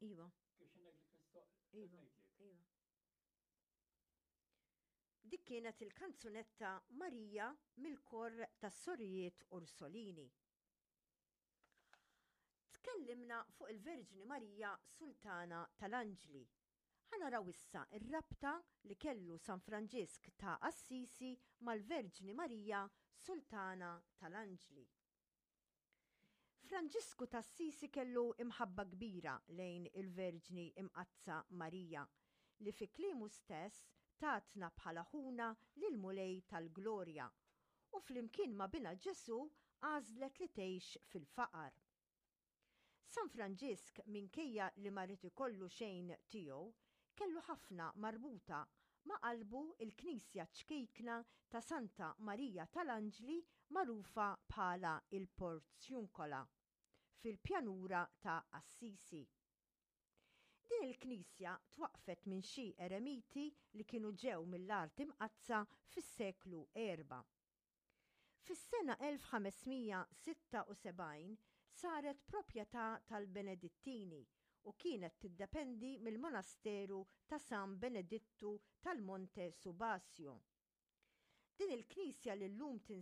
Iva. Kif xi ngħidlek mistoq Iva. ngħidlek. Iva. Dik kienet il-kanzunetta Marija mill-kor tas-Sorijiet Ursolini. Tkellimna fuq il-Verġni Marija Sultana tal-Anġli. Ħa naraw issa r-rabta li kellu San Franġisk ta' Assisi mal-Verġni Marija Sultana tal-Anġli. Franġisku t'Assisi kellu imħabba kbira lejn il-Verġni Imqaddsa Marija, li fi kliemu stess tatna bħala ħuna lill-Mulej tal-Glorja, u flimkien ma' binha Ġesù għażlet li tgħix fil-faqar. San Franġisk minkejja li ma ried ikollu xejn tiegħu, kellu ħafna marbuta ma' qalbu l-knisja ċkejkna ta' Santa Marija tal-Anġli magħrufa bħala l-Porziuncola fil-pjanura ta' Assisi. Din il-knisja twaqqfet minn xi eremiti li kienu ġew mill-Art Imqaddsa fis-seklu erba'. Fis-sena 1576 saret proprjetà tal-Benedittini u kienet tiddependi mill-monasteru ta' San Benedittu tal-Monte Subasio. Din il-knisja li llum tinsab.